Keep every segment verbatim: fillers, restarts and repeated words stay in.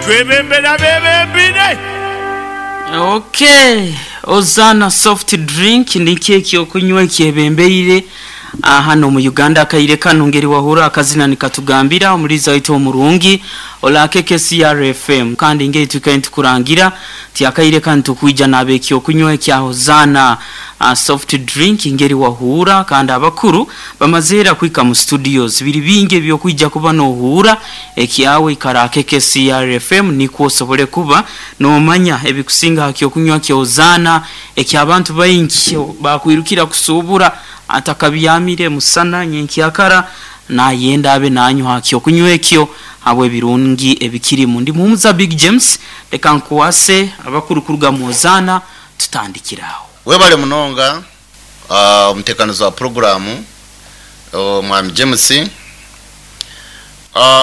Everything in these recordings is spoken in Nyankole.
Twebembera bebembire. Okay, Ozana soft drink ni keki okunywa ekyebembeire hano mu Uganda. Akaire kano ngeri wahura akazina nikatugambira omuliza waitu omurungi ola K K C R F M, kandi ngeri tukaye tukurangira ti akaire kano tukwija nabeki okunywa ekya Ozana uh, soft drink ngeri wahura. Kandi abakuru bamazera kwika mu studios biri bingi ebyokwija kuba nohura ekyawe ikara K K C R F M niko osobole kuba nomanya ebikusinga hakyokunywa kya Ozana ekyabantu baingi bakwirukira kusubura atakabyamire musana nyenkyakara nayenda abe nanyu hakyo kunywa ekyo habwe birungi ebikirimu. Ndi muumuza Big James, reka nkuwase abakuru kuruga mu Ozana tutandikiraho. Webale munonga uh, omutekanizi wa programu omwami James uh,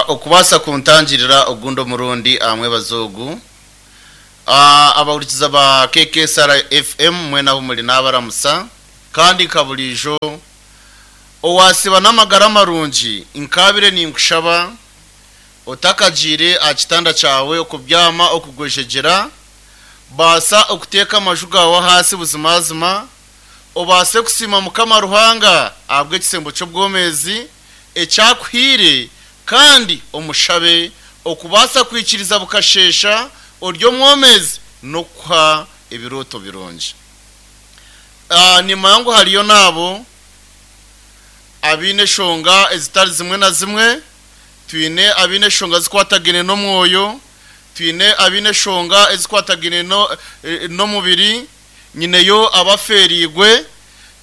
okubasa kuntangirira ogundo murundi amwe bazogu uh, abawurikiza ba K K S R F M mwena muri nabaramusa kandi kabulijo owasiba n'amagara marungi inkabire ninkushaba otakagire akitanda cyawe okubyama okugwejegera basa okuteka amaju gawe hasi buzimazima obase kusima Mukama Ruhanga abwe ekisembo cy'obwomezi ekyakuhire kandi omushabe okubasa kwikiriza bukashesha oryo mwomezi nokuha ebiroto birungi. Uh, ni mangu hariyo nabo abine shonga ezitari zimwe na zimwe, twine abine shonga zikwatagene no mwoyo, twine abine shonga ezikwatagene no eh, no mubiri, nyineyo abaferigwe,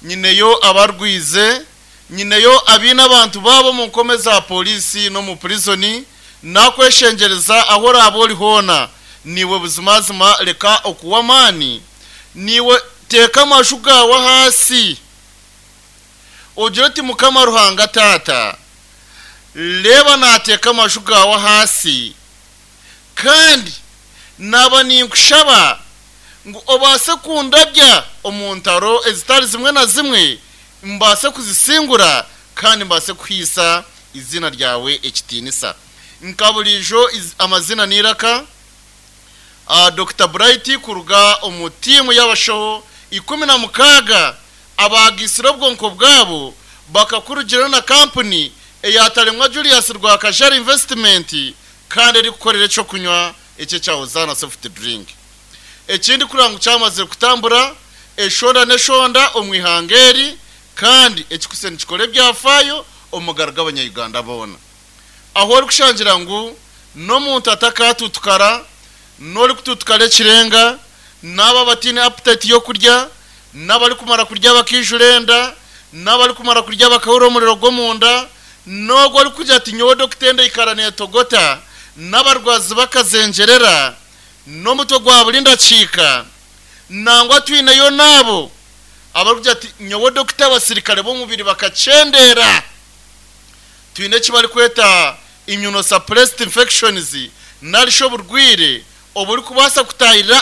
nyineyo abarwize, nyineyo abine abantu babo mu nkome za polisi no mu prison. Nakweshengereza aho rabo hona niwe buzimazima reka okuwamani niwe teka amashu gawe hasi ogira uti Mukama Ruhanga tata leba nateka amashu gawe hasi kandi naba ninkushaba ngu obase kundabya omuntaro ezitari zimwe na zimwe mbase kuzisingura kandi mbase kuhisa izina ryawe ekitinisa. Nkabulijo amazina niraka uh, Doctor Bright kuruga omutimu y'abashoho ikumi na mukaga abagisira obwonko bwabo bakakurugira na company eyatalemwa Julius Rwakajari Investment kandi eri kukorera cyo kunywa ecye cya Ozana soft drink. Ekindi kurangu cyamaze kutambura eshonda neshonda omwihangeri kandi ekikuseni kikore byafayo omugaraga abanya-Uganda bona aho ori kushangira ngu n'omuntu atakatutukara n'ori kututukara ekirenga n'aba batine appetite yo kurya n'abari kumara kurya bakijurenda n'abari kumara kurya bakahura omuriro gw'omunda n'ogwo ori kugira ati nyowe dokitenda ikarane togota n'abarwazi bakazengerera n'omutwe gwa buri ndakiika nangwa twineyo nabo abari kugira ati nyowe dokita abasirikare b'omubiri bakacendera twine eki bari kweta immunosuppressed infections narisho oburwire oburi kubasa kutahirira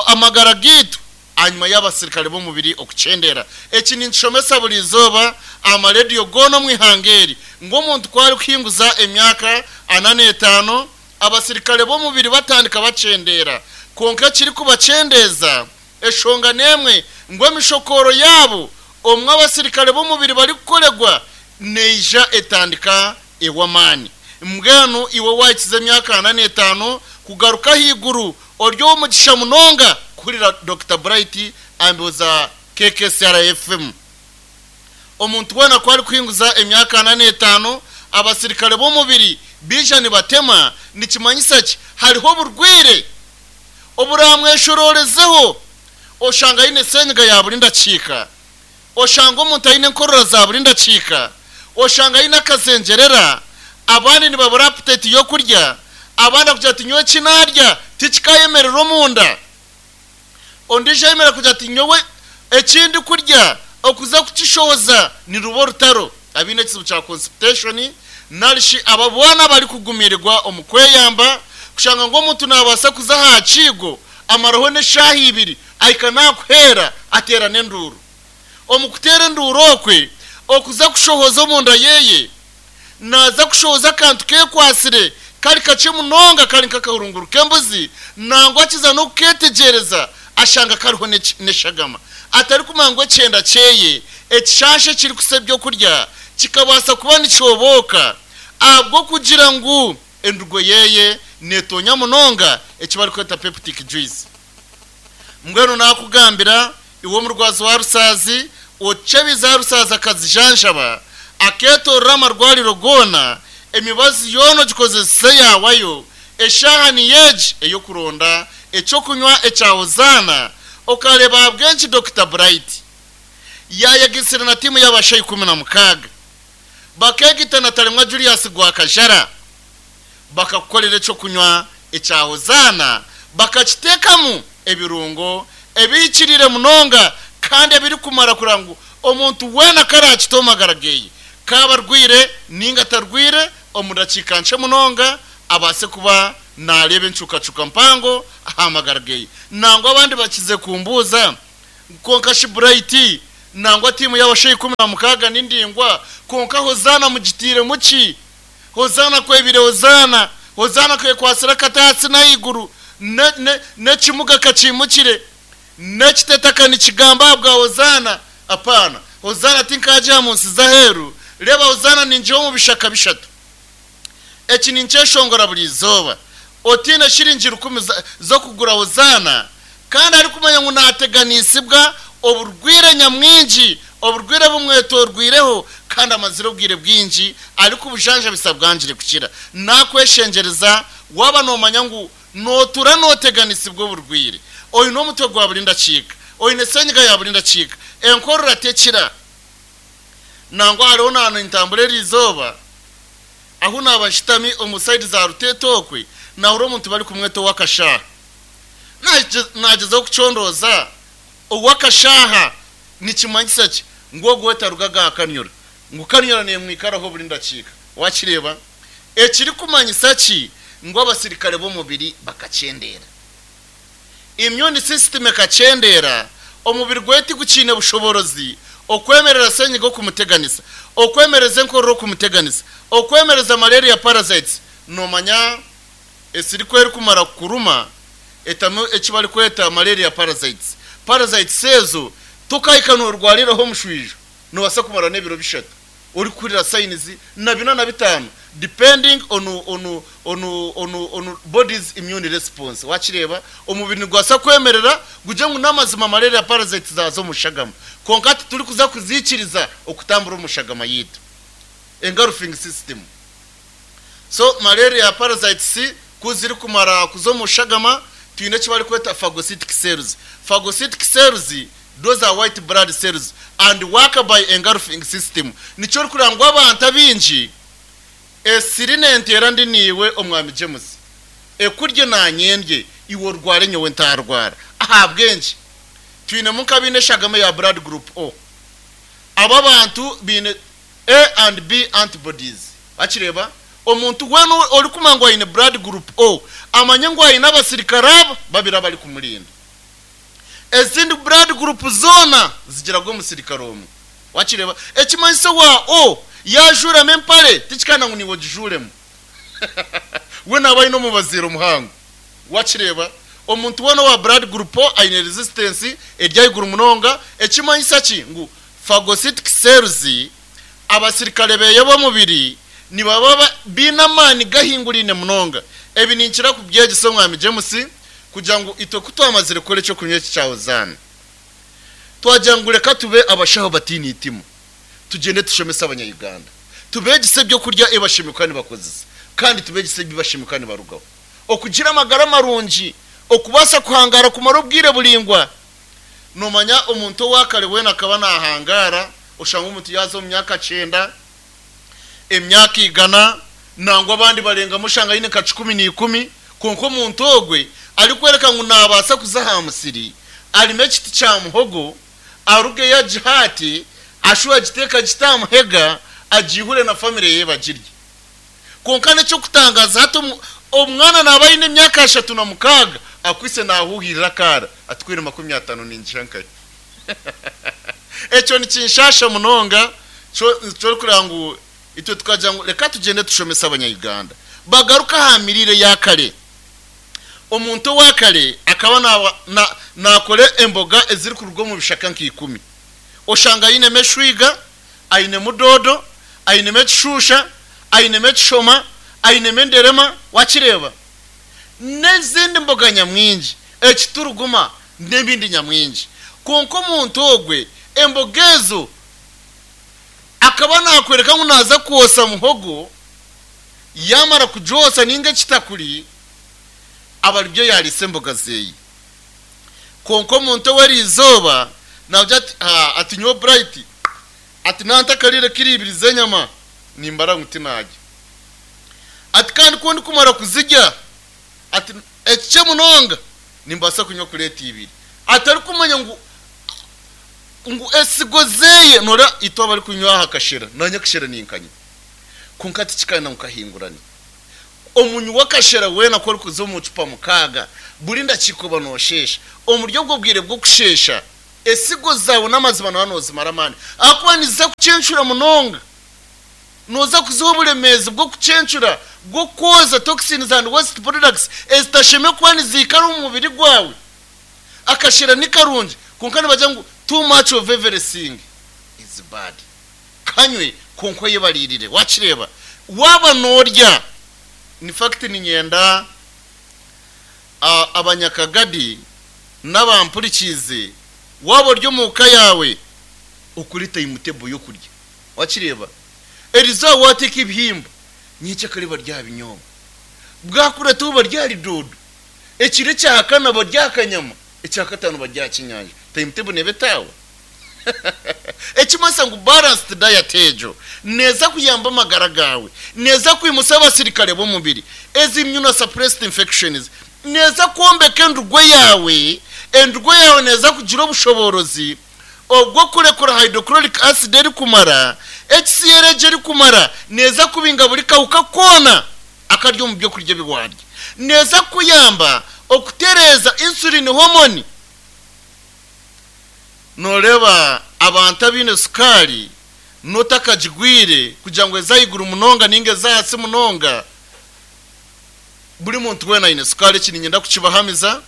amagara gitu anyuma y'abasirikare b'omubiri okucendera. Eki ninshomesa buri izooba amarediyo goona omwihangeri ng'omuntu kwari kuhinguza emyaka ana n'etaano abasirikare b'omubiri batandika bacendera konka kiri kubacendeza eshonga nemwe ngo emishokoro yabo omwe abasirikare b'omubiri bari kukoregwa neija etandika ewamani. Mbwenu iwe wakize emyaka ana n'etaano kugaruka higuru oryo omugisha munonga kuhurira Doctor Bright ambuza K K C R F M. Omuntu wena kwari kuhinguza emyaka ana n'etaano abasirikare b'omubiri bija nibatema nikimanyisa ki hariho oburwire oburamweshororezeho oshanga aine senyiga ya buri ndakiika oshanga omuntu aine enkorora za buri ndakiika oshanga aine akazengerera abandi nibabura appetite yo kurya abandi kugira ati nyowe kinarya tikikayemerera omunda ondijo ayemera kugira ati nyowe ekindi kurya okuza kukishoza ni rubo rutaro abine ekizibu kya constipation narishi ababwana bari kugumirirwa omukweyamba kushanga ngo omuntu nabasa kuza aha kigo amaroho n'eshaaha ibiri ahika nakuhera atera n'enduru omukutera enduru okwe okuza kushohoza omunda yeye naza kushohoza akantu kekwasire Kari kakye munonga kari nk'akahurunguru k'embuzi, nangwa akiza n'okuketegereza ashanga kariho n'eshagama. Atari kumanya ngu ekyenda kyeye ekishansha ekiri kusa ebyokurya kikabaasa kuba nikyoboka ahabw'okugira ngu endugo yeye netonya munonga eki barikweta peptic juice. Mbwenu nakugambira iwe omurwazi wa rusaazi ocebiza rusaazi akazijanjaba aketorora amarwariro goona emibazi yoona ogikozese yawayo eshaha ni yeegi ey'okuronda ekyokunywa ekya Hozaana. Okareba ahabw'enki Doctor Bright yayegisire na tiimu y'abasha ikumi na mukaaga bakegita na Tarimwa Julius Gwakajara bakakukorera ekyokunywa ekya Hozaana, bakakiteekamu ebirungo ebihikirire munonga kandi ebirikumara kugira ngu omuntu weena karakita omagara geye kaba arwire ninga atarwire omu dakiika nkye munonga abaase kuba nareeba encukacuka mpango aha magara geye. Nangwa abandi bakize kumbuuza konka shi Bright nangwa tiimu y'abasha ikumi na mukaaga n'indingwa konka Hozaana mugitiire muki? Hozaana kwebire Hozaana, Hozaana kwekwasira akataatsi n'ahaiguru n'ekimuga kakimukire n'ekitetaka nikigamba ahabwa Hozaana. Apaana, Hozaana tinkagiha mu nsi z'aheeru. Reeba Hozaana ningiha omu bishaka bishatu. Eki ninkyeshongora buri izooba. Otiine shiringi rukumi z'okugura Hozaana kandi arikumanya ngu naateganisibwa oburwire nyamwingi, oburwire bumwetorwireho kandi amazire obwire bwingi arikubujanjabisa bwangire kukira. Nakweshengereza waba noomanya ngu nootura nooteganisibwa oburwire, oine omutwe gwa buri ndakiika, oine senyiga ya buri ndakiika, enkorora tekira. Nangwa hariho nahantu nintambura eri izooba ahu naaba nshutami omu sayidi za Ruteetokwe nahura omuntu barikumweta ow'akashaaha. Nagyezaho kucondooza ow'akashaaha nikimanyisa ki? Ngu ogwo we tarugaga aha kanyura, ngu kanyura neemwikaraho buri ndakiika. Wakireeba ekirikumanyisa ki? Ngu abasirikare b'omubiri bakakyendera, immune system ekakyendera, omubiri gwe tigukiine bushoborozi okwemerera senyiga okumuteganisa, okwemereza enkorora okumuteganisa, okwemereza malaria parasites. Nomanya esiriku erikumara kukuruma etamu eki barikweta malaria parasites. Parasites ezo tokahika norwariraho omushwijo, nobaasa kumara n'ebiro bishatu orikuhurira signs na bina na bitaano depending on, on, on, on, on body's immune response. Wakireeba omubiri nigwasa kwemerera gugye ngu n'amazima malaria parasites zaza omu shagama, konka titurikuza kuzikiriza okutambura omu shagama yitu, engulfing system. So malaria parasites ku zirikumara kuza omu shagama twine eki barikweta phagocytic cells. Phagocytic cells, those are white blood cells and work by engulfing system. Nikyo orikureba ngu abantu abingi esiri nenteera ndi niiwe omwami James ekurye nanyendye iwe orware nyowe ntarwara. Ahabw'enki? Twinemu nk'abaine eshagama ya blood group O. Aba bantu biine A and B antibodies. Wakireeba omuntu weena orikumanya ngu aine blood group O amanye ngu aine abasirikare aba babiri abarikumurinda. Ezindi blood group zoona zigiraga omusirikare omwe. Wakireeba ekimanyiso wa O yajuramo empare tikikana ngu niiwe ogijuremu we naaba aine omubaziiro muhango. Wakireeba omuntu weena owa blood group O aine resistance eri ahaiguru munonga. Ekimanyisa ki? Ngu phagocytic cells abasirikare beye b'omubiri nibaba biine amaani gahinguriine munonga. Ebi ninkira kubyegyesa omwami James kugira ngu itwe ku twamazire kukora ekyokunywa eki kya Hozaana twagira ngu reka tube abashaho batiine itimu, tugende tushomese abanyayuganda, tubegise ebyokurya ebashemeka nibakozesa kandi tubegise ebibashemeka nibarugaho, okugira amagara marungi, okubaasa kuhangara kumara obwire buringwa. Nomanya omuntu owakare weena akaba nahangara, oshanga omuntu yaza omu myaka kyenda, emyaka igana, nangwa abandi barengamu oshanga aine nka kikumi n'ikumi, konka omuntu ogwe arikwereka ngu nabaasa kuza aha musiri arime ekiti kya muhogo arugeyo agihate ashuwe agiteeka gitamuhega agihure na famire ye bagirye. Konka n'ekyokutangaza hati omwana naaba aine emyaka ashatu na mukaaga akwise nahuhirira akaara atwire makumi atano ningira nkaye. Ekyo nikinshasha munonga kyo orikureba ngu itwe tukagira ngu reka tugyende tushomese abanyayuganda. Bagaruka aha mirire ya kare. Omuntu wa kare akaba nakora emboga eziri kuruga omu bishaka nk'ikumi. Oshanga ayinemu eshwiga, ayinemu dodo, ayinemu ekishusha, ayinemu ekishoma, ayinemu enderema, wakireba n'ezindi mboga nyamwingi, ekituruguma n'ebindi nyamwingi. Konka omuntu ogwe emboga ezo akaba nakwereka ngu naza kwosa muhogo, yamara kujosa ninga ekitakuri, abaribyo yarisa emboga zeyi. Konka omuntu w'eriizooba navuga ati ati nyowe Bright ati nantakarire kiri ibiri z'enyama nimbara ngu tinarya. Ati kandi ku ndikumara kuzirya ati ekikye munonga nimbaasa kunywa kureeta ibiri. Atarikumanya ngu ngu esigo zeye nora itwe abarikunywa aha kashera, nanye kashera ninkanya. Konka tikikana nkahingurani. Omunywi w'akashera weena ku orikuza omu cupa mukaaga buri ndakiiko noshesha. Omuri obwo bwire bw'okushesha esigo zawe n'amazima nawe nozimara amaani. Ahakuba niziza kucencura munonga. Noza kuziha oburemeezi bw'okucencura, bw'okwoza toxins and waste products ezitashemwe kuba niziikara omu mubiri gwawe. Akashera ni karungi, konka nibagira ngu too much of everything is bad. Kanywe konka oyebaririre, wakireba. Waba norya, in fact ninyenda abanyakagadi n'abampurikize, waba ori omu ka yawe okuri timetable y'okurya, wakireba. Eriza wateeka ebihimba nyekyakare barya binyobwa, bwakurataho barya dodo, ekiro ekya kana barya akanyama, ekya katano barya kinyanja. Timetable nebe tawe. Ekimasa ngu balanced diet ejo neza kuyamba amagara gawe, neza kwimusa abasirikare b'omubiri, ezi immunosuppressed infections, neza kwombeka endugwe yawe. Endugwe yawe neza kugira obushoborozi obwo kurekura hydrochloric acid eri kumara, H C L eri kumara, neza kubinga buri kawuka kona akaryo mu byo kurya biwarya, neza kuyamba okutereza insulin hormone. Noreba abantu abine sukari notakajigwire kugira ngo ezayiguru munonga ninge zahasi munonga. Buri muntu wena ayine sukari, eki ninyenda kukibahamiza.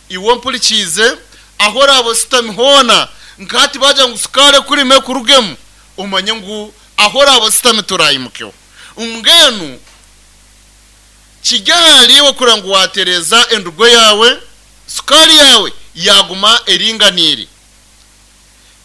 Iwe mpurikize aho oraba ositami hoona, nkati bagira ngu sukari kurime kurugemu, omanye ngu aho oraba ositami turayimukeho. Mbwenu kijyahariwe kugira ngu watereza endugo yawe, sukari yawe yaguma eringanire,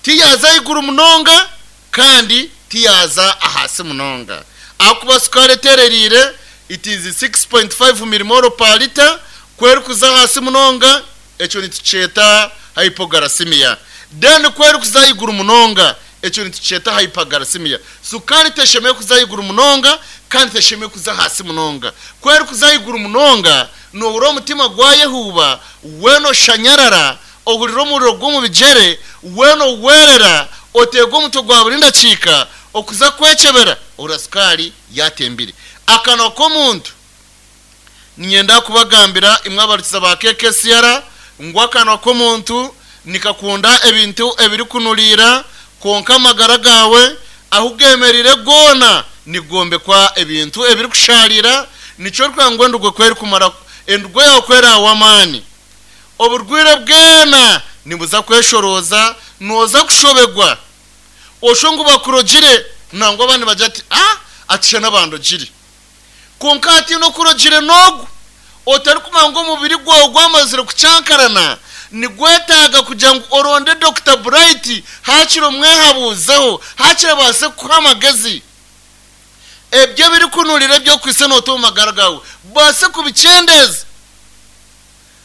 tiyaza iguru munonga kandi tiyaza ahasi munonga. Akuba sukari etererire it is six point five millimole per liter, kweri kuza hasi munonga ekyo nitukyeta hypoglycemia. Then kweri kuza iguru munonga ekyo nitukyeta hyperglycemia. Sukari teshemeye kuza iguru munonga kandi teshemeye kuza hasi munonga. Kweri kuza iguru munonga nobura omutima gwayehuba, weno shanyarara, ohurira omuriro gw'omu bigyere, weno werera, oteega omutwe gwa buri ndakiika, okuza kwekyebera ora sukari yatembire. Akanwa k'omuntu ninyenda kubagambira imwe abarikiza ba K K C R ngu akanwa k'omuntu nikakunda ebintu ebirikunurira, konka amagara gawe ahu gemerire goona nigombekwa ebintu ebirikusharira. Nikyo orikugira ngu endugwe kweri kumara, endugwe yawe kweri aw'amaani, oburwire bwena nibuza kweshoroza, noza kushobegwa osho ngu bakurogire, nangwa abandi bagira ati ah atisha n'abandogire. Konka ati n'okurogire n'ogu otarikumanya ngu omubiri gwawe gwamazire kucyankarana, nigwetaaga kugira ngu oronde Doctor Bright hakiri omwehabuzeho, hakiri abaase kukuha amagezi. Ebyo ebirikunurira ebyokwise noota omu magara gawe baase kubikyendeza.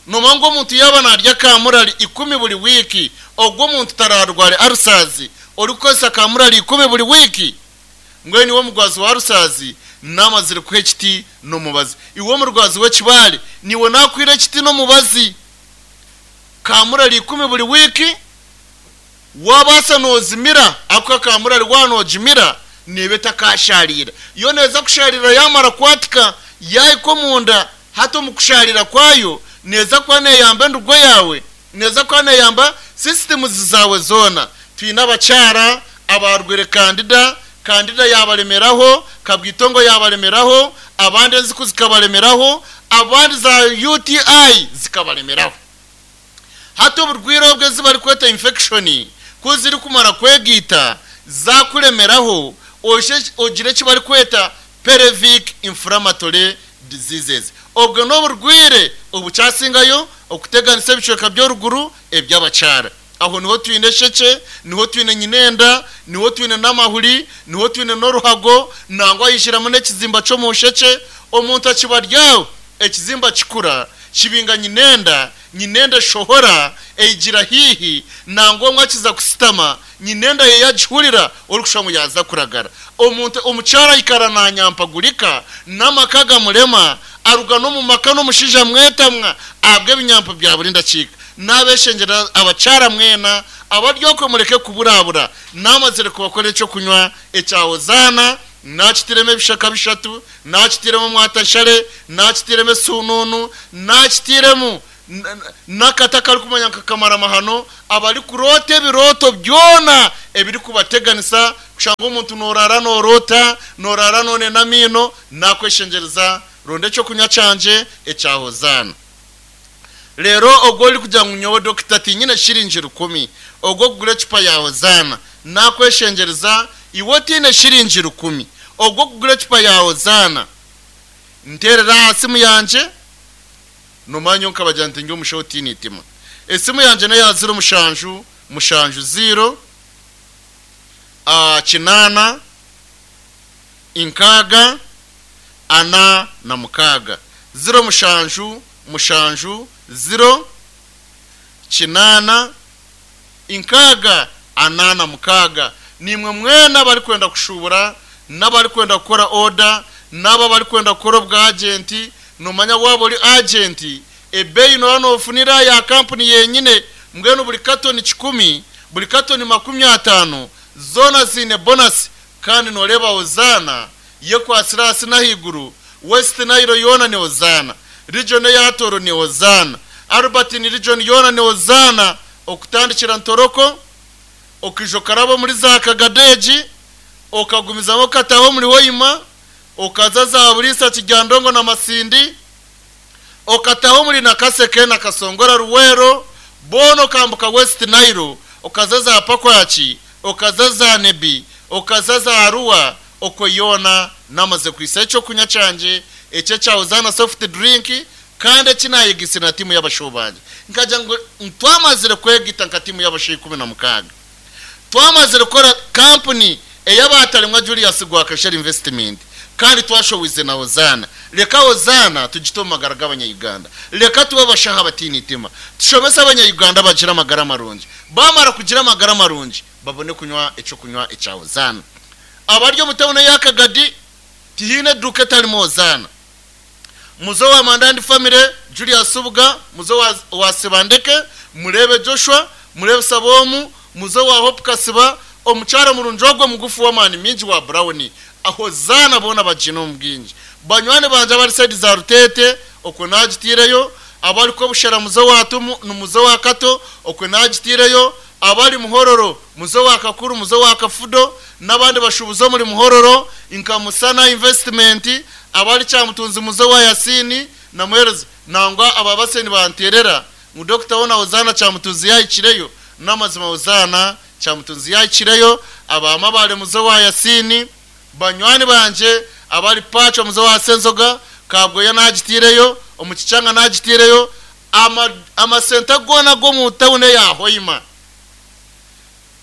Nomanya ngu omuntu yaaba narya kamurari ikumi buri wiiki, ogwo omuntu tararware arusazi orikukozesa kamurari ikumi buri wiiki. Mbwenu niwe omugwazi wa rusazi namazire kuha ekiti n'omubazi. Iwe omurwazi w'ekibaare niwe nakwira ekiti n'omubazi. Kamurari ikumi buri wiiki wabaasa nozimira, ako kamurari wanogimira nebe takasharira. Yo neza kusharira yamara kwatika yahika omunda, hati omu kusharira kwayo neza kuba neyamba endugo yawe, neza kuba neyamba systems zawe zoona. Twine abakyara abarwire kandida Kandida yabalemeraho, Kabwitongo yabalemeraho, abandi enziku zikabalemeraho, abandi za U T I zikabalemeraho. Hati oburwire obwe zibari kweta infection kuziri kumara kwegita zakulemeraho ogire kibari kweta pelvic inflammatory diseases. Obwo n'oburwire obucasingayo okuteganisa ebicweka by'oruguru eby'abakyara. Aho niho twine sheke, niho twine nyinenda, niho twine n'amahuri, niho twine n'oruhago, nangwa yishiramu n'ekizimba cyo mu sheke. Omuntu akibaryaho ekizimba kikura kibinga nyinenda, nyinenda shohora eigira hihi, nangwa mwakiza kusitama nyinenda ye yagihurira orikushangu yaza kuragara. Omuntu omukyara ikara nanyampagurika n'amakaga murema aruga no mu maka no mushija mwetamwa abwe binyampa bya burinda kika. Nabeshengera abacyara mwena abaryoko mureke kuburabura namazire kubakora ecyo kunywa ecyawozana nakitireme ebishaka bishatu, nakitiremu mwatashare, nakitireme sununu, nakitiremu nakataka ari kumanya nkakamara mahano abari kurota ebiroto byona ebiri kubateganisa kushanga omuntu norara norota norara none namino. Nakweshengereza ronde cyo kunywa canje ecyahozana. Lero ogwo uri kugira ngo nyowe doctor tinyine shiringi rukumi ogwo kugura ecupa ya Hozana, nakweshengereza iwe tine shiringi rukumi ogwo kugura ecupa ya Hozana, nterera simu yanje nomanyo nkabagira nti ngi umushaho tinitima esimu yanje nayo ya zero mushanju mushanju zero a kinana inkaga ana na mukaga zero mushanju mushanju zero kinana inkaga ana na mukaga. Nimwe mwena bari kwenda kushubura n'abari kwenda gukora order n'aba bari kwenda gukora bwa agent. Nomanya wabo uri agent ebeyi no hano ofunira ya company yenyine mbwenu buri katoni kikumi buri katoni makumi atano zona zine bonus. Kandi noreba Hozana ye kwa Sirasi na higuru West Nile yona ni Hozana, region ya Toro ni Hozana, Albertine region yona ni Hozana, okutandikira Ntoroko okijokarabo muri za Kagadeji okagumizamo kataho muri Hoima okaza za Burisa Kijandongo na Masindi okataho muri Nakaseke na Kasongora Ruwero bono kambuka West Nile okaza za Pakwachi okaza za Nebi okaza za Arua okoyona namaze kwisa cyo kunya canje ece cha Hozana soft drink. Kandi kinayigise na timu y'abashobanje nkaja ngo ntwamazire kwegita nka timu y'abashoyi kumi na mukaga twamazire gukora company eyabatarimwa Julius Gwakashari investment kandi twashowize na Hozana. Reka Hozana tugito magara g'abanya-Uganda, reka tuba bashaha batinitima tushomesa abanya-Uganda bagira amagara marungi, bamara kugira amagara marungi babone kunywa ico kunywa ica Hozana. Abaryo mutabone yakagadi tihine duke tarimo Hozana. Muzo wa Mandandi family Julius Subuga, muzo wa, wa Sebandeke, murebe Joshua, murebe Sabomu, muzo wa Hope Kasiba, omuchara murunjogwe mugufu wa mani minji wa Brown. Aho zana bona bajino mbwinji. Banywane banje abari side za Rutete okwe nagitireyo, abari ko bushara muzo wa Tumu numuzo wa Kato okwe nagitireyo, abari Muhororo muzo wa Kakuru muzo wa Kafudo nabandi bashubuzo muri Muhororo inkamusana investment, abari cyamutunzi muzo wa Yasini na Muhereza nangwa ababaseni banterera mu doctor wona Hozana cyamutunzi yayikireyo namazima Hozana cyamutunzi yayikireyo, abama bare muzo wa Yasini banywani banje abari pacho muzo wa Senzoga kabwo yanagitireyo omukicanga nagitireyo ama amasenta gona go mu tawune ya Hoima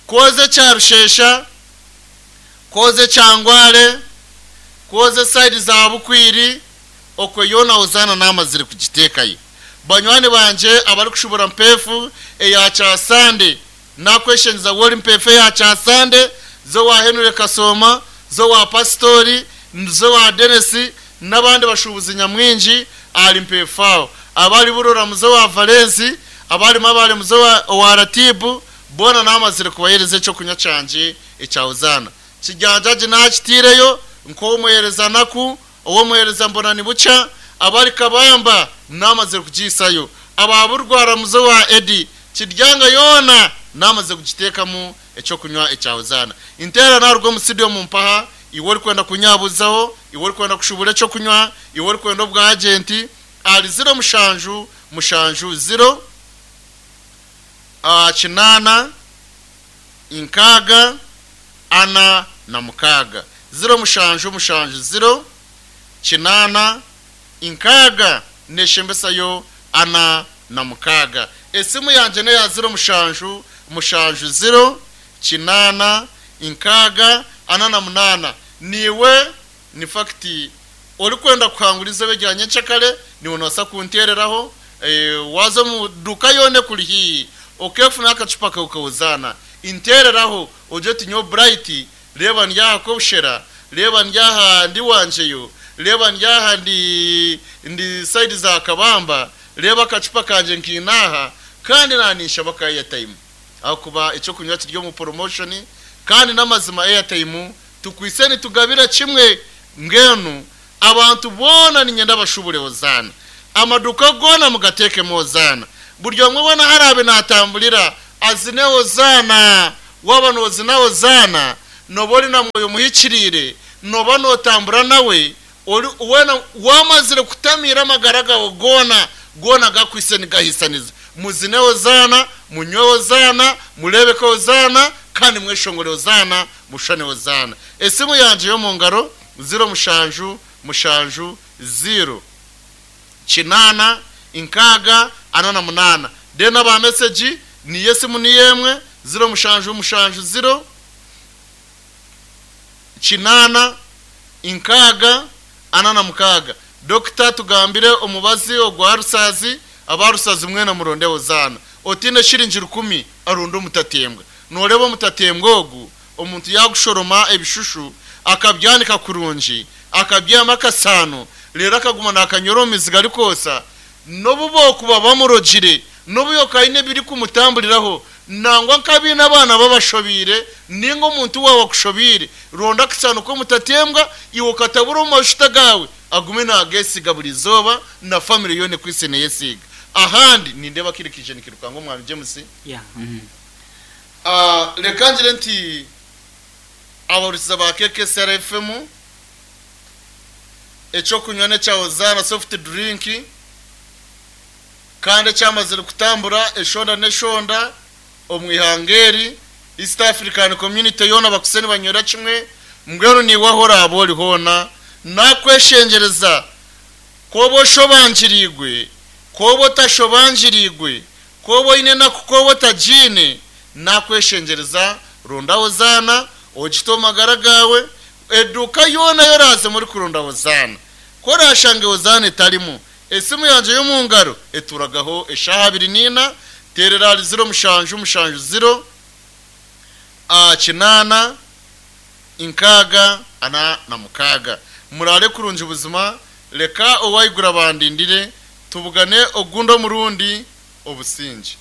koze cyarushesha koze cyangware koze side za Bukwiri okwe yona Hozana namazire kugitekayo. Banywani banje abari kushubura mpefu eya cyasande nakweshenza wori mpefu ya cyasande zo wa Henry Kasoma zo wa Pastori zo wa Dennis nabandi bashubuzi nyamwinji ari mpefu abari burora muzo wa Valensi abari mabare muzo wa, wa Ratibu bona namazire kubahereza cyo kunya canje ecya Hozana. Kijanjaje nakitireyo nko muhereza naku uwo muhereza mbona ni buca abari kabamba namaze kugisayo ababurwara muzo wa Edi kiryanga yona namaze kugitekamo ekyokunywa ekya Hozana. Inteera naruga omu studio mu mpaha, iwe orikwenda kunyabuzaho, iwe orikwenda kushubura ekyokunywa, iwe orikwenda obwa agenti, ali ziro mushanju mushanju ziro uh, kinana inkaga ana na mukaga. Ziro mushanju mushanju ziro kinana inkaga neshembesayo ana na mukaga. Esimu yanje ne ya ziro mushanju mushanju ziro kinana inkaga ana na munana. Niwe ni fakti orikwenda kuhanguriza bejyanye nchakale ni unosa kuntereraho e, wazo mu duka yone kuri hi okefuna akacupa kaukawuzana intereraho oje tinyo bright reba ndyaha kobushera reba ndyaha ndi wanjeyo reba ndyaha ndi ndi side za kabamba reba akacupa kanje nkinaha kandi nanisha baka airtime akuba icyo kunywa kiryo mu promotion kandi namazima airtime tukwise nitugabira kimwe ngenu abantu bona ninyenda bashubure Hozana amaduka gona mugateke Hozana buryo mwe bona harabe natambulira azine Hozana waba nozina Hozana nobori na mwoyo muhikirire noba notambura nawe ori wena wamazire kutamira amagara gona gona gakwise nigahisaniza muzine Hozana munywe Hozana murebeke Hozana kandi mweshongore Hozana mushane Hozana. Esimu yanje yo mu ngaro ziro mushanju mushanju ziro kinana inkaga anana munana. Dena ba message ni yesimu ni yemwe ziro mushanju mushanju ziro kinana inkaga anana mukaga. Dokita tugambire omubazi ogwa rusazi abarusazi mwena muronde Hozana otine shiringi rukumi arundo mutatembwa noreba mutatembwa ogu omuntu yagushoroma ebishushu akabyanika kurungi akabyama akasano rero akaguma nakanyoro miziga arikosa nobubo kuba bamurogire nobuyo kaine biri kumutambuliraho nangwa nkabina abana babashobire ningo omuntu wawe akushobire ronda akasano ko mutatembwa iwo katabura mu mashuta gawe agume nagesiga buri zoba na family yone kwise neyesiga ahandi nindeba kirikije nikirukango mwami James yeah. mm. Ah uh, lekangire nti abarusiza ba K K S R F M echo kunywa ne cha Hozana soft drink kandi cyamazire kutambura eshonda neshonda omwihangeri East African Community yona bakuseni banyora kimwe mbwenu ni wahora abori hona nakweshengereza kobo shobanjirigwe kobo tashobanjirigwe kobo ine nakukobo tajine nakweshengereza ronda Hozana ogito magara gawe eduka yona yoraze muri kurunda Hozana korashange Hozana etarimo esimu yanje yo mu ngaro eturagaho eshaha abiri nina terera ziro mushanju mushanju ziro a kinana inkaga ana na mukaga. Murare kurunje ubuzima reka owayigura bandindire tubugane ogundo murundi obusinje.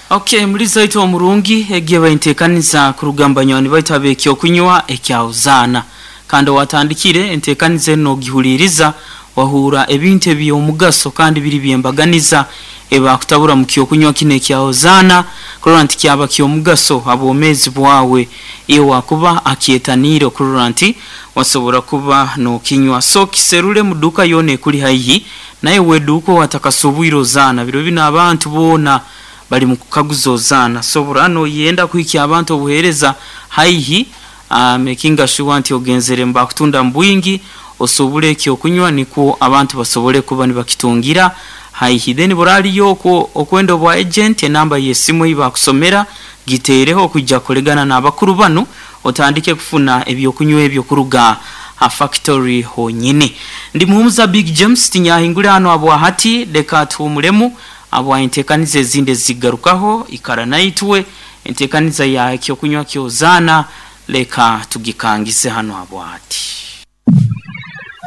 Okay, muri zaito wa murungi egiye bayintekaniza kurugamba nyoni bayitabekyo kunywa ekya Hozana kandi watandikire entekanize no gihuliriza wahura ebintu ebyomugaso kandi biri byembaganiza eba kutabura mu kyo kunywa kine kya Hozana kurora nti kyaba kyomugaso abomezi bwawe iyo wakuba akietaniro kurora nti wasobora kuba no kinywa. So kiserule muduka yone kuli haihi naye weduko watakasubwiro zana biro bina abantu bona bali mukukaguzo Hozana. So burano yenda kuiki abantu obuhereza haihi uh, making sure nti ogenzere mba kutunda mbwingi osobule kyo kunywa niko abantu basobole kuba nibakitungira haihi. Then burali yoko okwendo bwa agent enamba yesimu iba kusomera gitereho kujja kolegana n'abakuru bano otandike kufuna ebyo kunywa ebyo kuruga a factory honyine. Ndi muhumuza Big James tinyahingura hano abo hati leka tumuremu abo intekanize zinde zigarukaho ikara naitwe intekaniza ya kyo kunywa kyo Hozana leka tugikangise hano abo hati.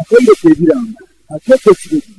Akende kebiranga akeke kiregi